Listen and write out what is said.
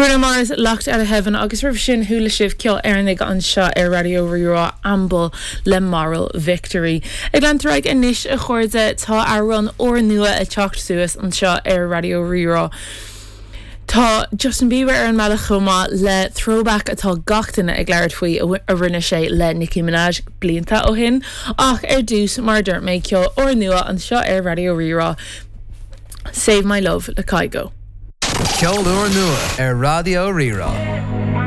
Bruno Mars, Locked Outta Heaven agus roimh sin chuala sibh ceol Éireannaigh anseo ar Raidió Rí-Rá, Amble le Moral Victory. Ag leanúint ar aghaidh anois a chairde, tá amhrán úrnua ag teacht suas anseo ar Raidió Rí-Rá. Tá Justin Bieber ar an mbealach chomh maith le throwback atá gach duine ag labhairt faoi a rinne sé le Nicki Minaj blianta ó shin. Ach ar dtús, mar a dúirt mé, ceol úrnua anseo ar Raidió Rí-Rá, Save My Love le Kygo. Ceol úrnua ar Raidió Rí-Rá.